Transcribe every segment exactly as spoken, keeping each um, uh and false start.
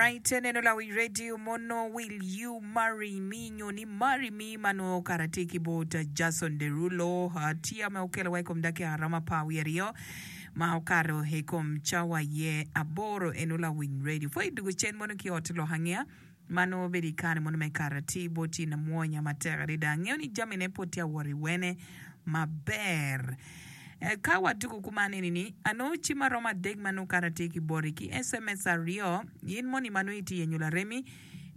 Right, eneno lawi radio mono Will You Marry Me nyo ni Marry Me ma nongo kara tye ki bot Jason Derulo tia ma okelo wa i kom dakika romo apar wiye aryo ma okato i kom cawa ye aboro eno lawiny radio pwod idwogo cen mono ki ot lok angeya ma nongo obedo i kare mono me kato atir bot in amwonya matek adada angeyo ni jamine pwod tye awot iwene maber. Ka watuko kuman eni ni, anongo cim aromo adek ma nongo kara tye ki boti ki S M S aryo, in moni ma nongo itye yenyo laremi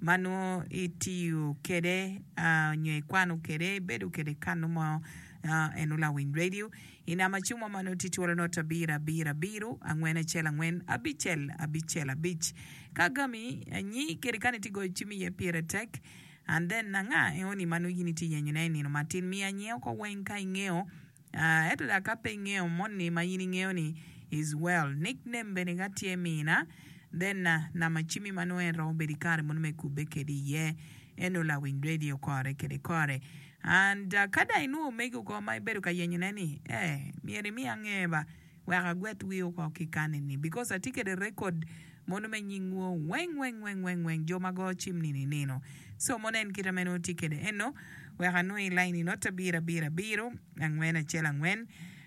ma nongo itiyo kede nyo ikwano kede ibedo kede kanu mo eno lawiny radio i namba cim mo ma nongo tye twolo not abiro abiro abiro angwen acel angwen abicel abicel abic. Ka agami nyi kede kani itye goyo cim iye pire tek and then anga enoni ma nongo in itye yenyo ne i nino matin miya nyeo ko weng ka ingeyo. Ento dok ka pe ingeyo moni ma in ingeyo ni is well, nick name bene ka tye mina, then namba cimmi ma nongo en romo bedo ikare mono me kubbe kedi iye eno lawiny radio kore kede kore. And ka dong inwongo omegi oko ma ibedo ka yenyo ne ni eh myero imi ange ba wek agwet wii oko ki kani ni because atye kede record mono me nyingwu weng weng weng weng weng jo ma go cim nino inino so mono en kite meno tye kede eno wek anwong i line i not abiro abiro abiro angwen acel angwen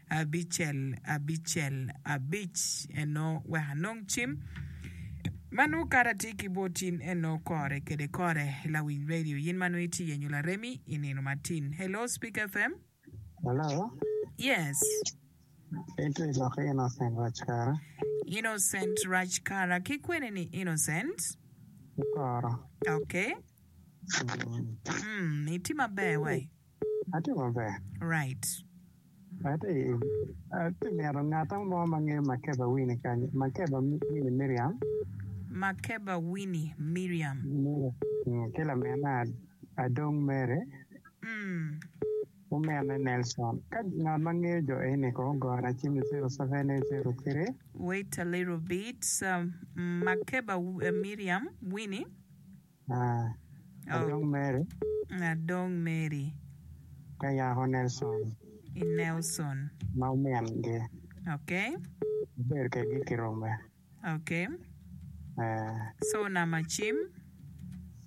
abicel abicel abic eno wek anong cim ma nongo kara tye ki bot in eno kore kede kore lawiny radio yin ma nongo itye yenyo laremi i nino matin hello speak F M. Hello. Yes. Ento i lokke Innocent Rachkara. Innocent Rachkara. Ki kwene ni Innocent? Ki koro. Okay. Mm. Mm, itye maber wai? Atye maber. Right. Atye atye mito ngat mo ma ngeyo Makeba Winnie kany, Makeba Winnie Miriam. Makeba Winnie Miriam. Miriam. Mm, ki lamina Adong Mary. Mm. Omene Nelson. Ka ngat ma ngeyo jo eni kong ogona cim i zero seven eight zero three. Wait a little bit, Makeba Miriam Winnie. Ah, Adong Mary. Adong Mary. Ka yako Nelson. I Nelson. Ma omingi. Okay. Obedo kedgi kirume. Okay. So nama cim.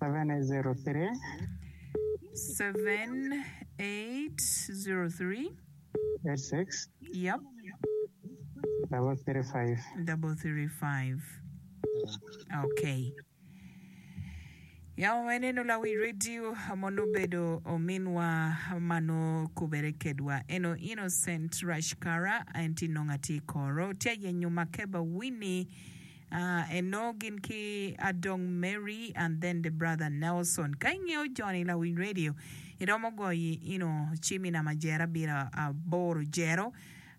Seven eight zero three. Seven eight zero three. Eight six. Yep. Double three five. Double three five. Okay. Yam eneno lawi redio mono obedo ominwa ma nongo kubere kedwa eno Innocent Rashkara en tye nongo atye i koro tye ayenyo Makeba Winnie eno gin ki Adong Mary and then the brother Nelson ka ingeyo joni lawiny radio iromo goyo ino cim i namba jero abiro aboro jero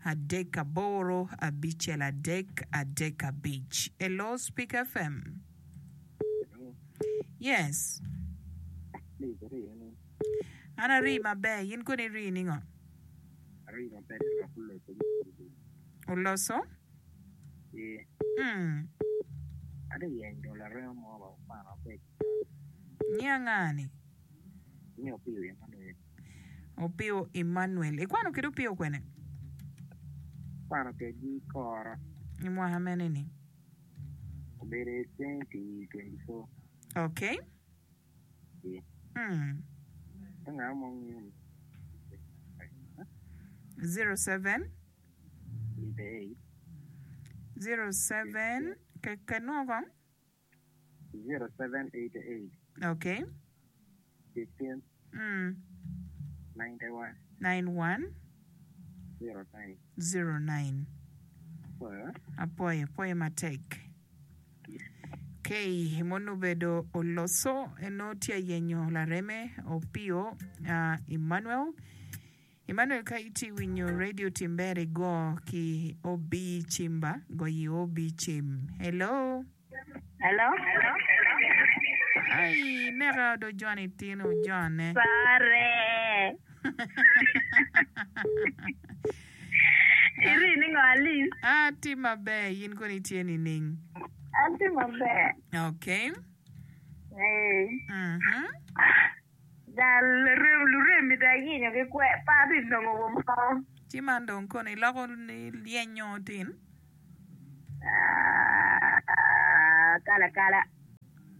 adek aboro abicel adek adek abic Hello Speak F M. Yes. An ari maber, in kono iri ningo? Oloso? Mm. Nyi anga-ni? Opio Emmanuel. Ikwano kede Opio kwene? I mwaka mene ni? Obedo i twenty twenty four. Okay. Ee. Mm. Ka ngat mo ngeyo ni Zero seven. Eighty eight. Zero seven. Ke ke nwo kong. Zero seven eighty eight. Okay. Fifteen. Mm. Ninety one. Nine one. Zero nine. Zero nine. Apwoyo. Apwoyo, pwoyo matek. Kay mono obedo oloso eno tye ayenyo lareme Opio uh, Emmanuel. Emmanuel ka itye winyo radio tim ber igo ki O B cimba goyi O B cim. Hello. Hello. Ai neka do joni tino jone. Pare. Iri ni ngo Alice? Atye maber, in kono itye nining? Atye maber. Okay. Ee. Mhm. Jal lurem luremi dong ayenyo ki kwe pe abi nongo wa mo. Ci man dong kono iloko ni lyenyo tin? Ah, kala kala.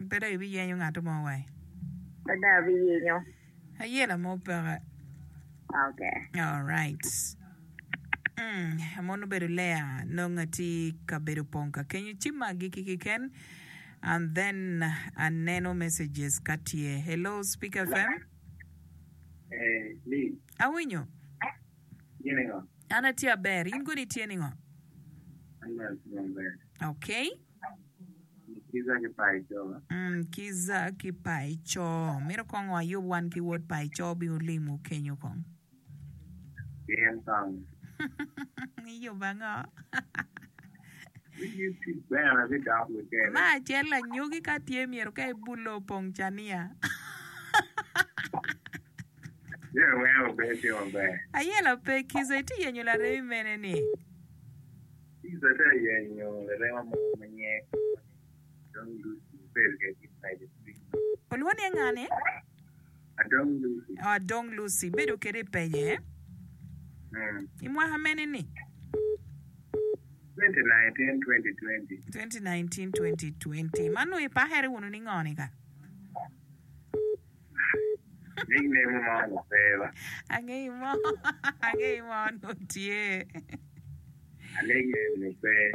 Pe dong ibiyenyo ngat mo wai. Pe dong abiyenyo. Ayela mo peke. Okay. All right. Mm, mono obedo Lea nongo atye ka bedo pong ka kenyo ci magi ki keken and then aneno messages ka tye. Hello Speak FM. Eh, Lee, Awinyo. gini ngo? An atye aber. In koni itye ningo? An bene atye maber. Okay. Kiza ki Paico. Mm, kiza ki Paico. Mito kong wayub wan ki wod Paico bi olimo kenyo kong. Gin kong. Iyubo ango? Wigi tic bene bidok wikene. Ma acel anyogi ka tye myero ka ibulo opong cania. Jami weng obed tye maber. Ayela pe kiza itye yenyo laremi mene ni? Kiza tye yenyo larema mo ma nyinge Adong Lucy bedo kede ki Paco Olwongo ni ngani? Adong Lucy. Oh, Adong Lucy bedo kede i peye. Mm. I mwaka mene ni? twenty nineteen twenty twenty. twenty nineteen twenty twenty. Mano ipakere wunu ni ngoni ka? Nickname mo no pe ba. Angeyo mo, angeyo mo no tye. A nickname no pe.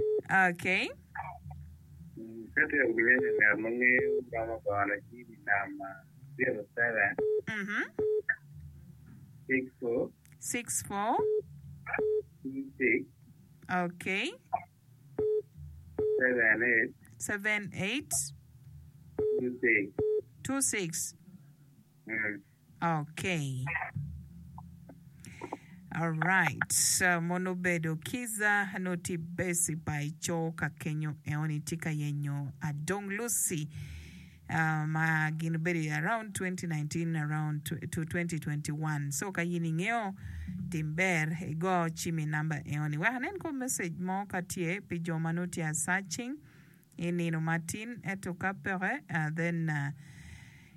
Okay. Ka tye ogenyo ngat ma ngeyo romo gono cim i namba zero seven Mhm. six four six four two six Okay. seven eight seven eight two six. two six. Mm. Okay. All right. So, mono bedo kiza noti besi Paico ka kenyo eoni tye ka yenyo Adong Lucy uh, ma gin bedo i around twenty nineteen around to twenty twenty-one. So ka yin ingeo tim ber igo cim i namba eoni. Wek anen ko message mo ka tye pi jo ma nongo tye a searching i nino matin eto ka peke uh, then uh,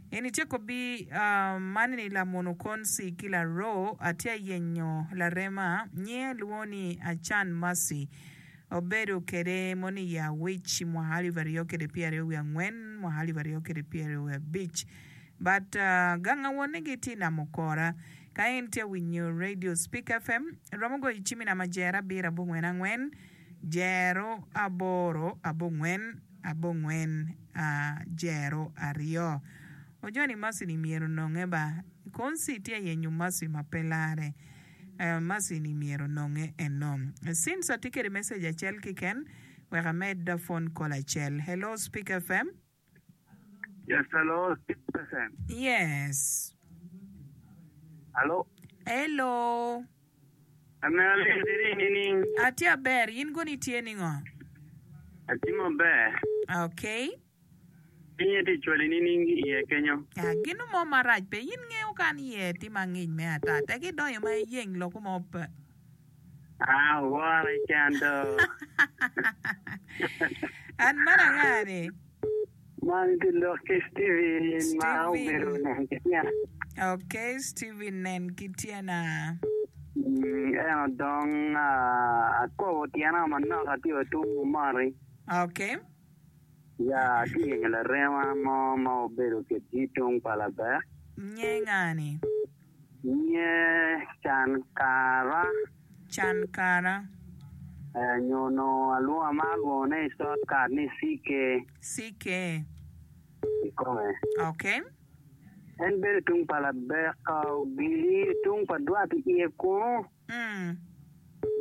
en itye kobi uh, man ni lamono konsi ki laro atye yenyo larema nyinge lwongo ni Achan Mercy obedo kede moni ya wic mwaka alip aryo kede pyeraryo wiye angwen mwaka alip aryo kede pyeraryo wiye abic but uh, ganga wonne gitye i Namokora ka en tye winyo Radio Speak F M romo goyo cim i namba jero abiro abongwen angwen jero aboro abongwen abongwen uh, jero aryo Ojoni Mercy ni myero nonge ba konsi tye yenyo Mercy ma pe lare uh, Mercy ni myero nonge eno since atye kede message acel kiken wek amed phone call acel. Hello Speak F M. Yes, hello Speak F M. Yes. Hello. Hello. Atye aber in koni tye ningo? Atye maber. Okay. Pinye tye cwali nining iye kenyo? Ah, gino mo marac pe in ngeo kan iye tye mangic me ata tek idonyo ma iyeng loko mo pe. Ah, wora ican do. An man anga ni? Man tye lok ki Steven ma obedo nen ki tyena. Okay, Steven nen ki tyena. En odong akobo tyena manok atye wa tung mori. Okay. Ya, atye yenyo larema mo ma obedo kedi tung pa laber. Nye ngani? Nye Chankara. Chankara. Eh, nyo no alwongo ma alwongo ne i shortcut ni C K. C K. Ikome. Okay. En bedo tung pa laber ka ogili tung pa dwat iye kunu. Mm.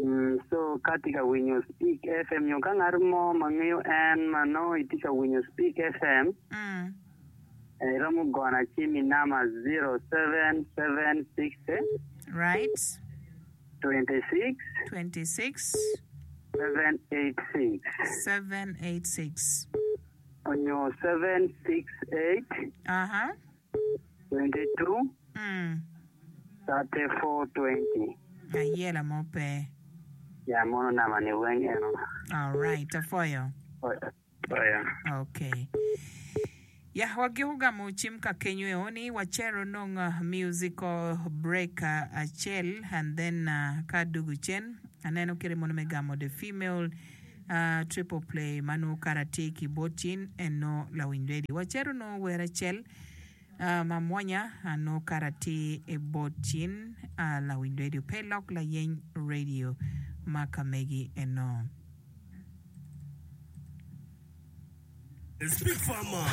Mm, so ka tye ka winyo Speak F M nyo ka ngat mo ma ngeyo en ma nongo itye ka winyo Speak F M, Mm. iromo gono cim i namba zero seven seven six Right. twenty-six twenty-six seven eight six seven eight six onyo seven six eight Uh-huh. twenty-two Mm. thirty-four twenty. Ayela mo pe. Ya mono nama ni weng eno. All right, afoyo. Oya. Okay. Ya wagiko gamo chim ka kenyo eoni wachero nong uh, musical break uh, acel and then uh, ka dugu chen aneno kere mono me gamo the female Triple Play ma nongo kara tye ki bot cin en nongo lawiny radio. Wacito nongo wer acel ma mwonya nongo kara tye bot cin lawiny radio pe lok layeny radio ma ka megi eno. Speak Farmer,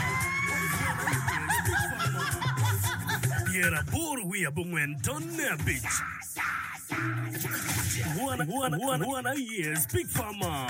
Pyeraboro wiye abongwen tonne abic. Wan, wan, wan, wan aye Speak Farmer.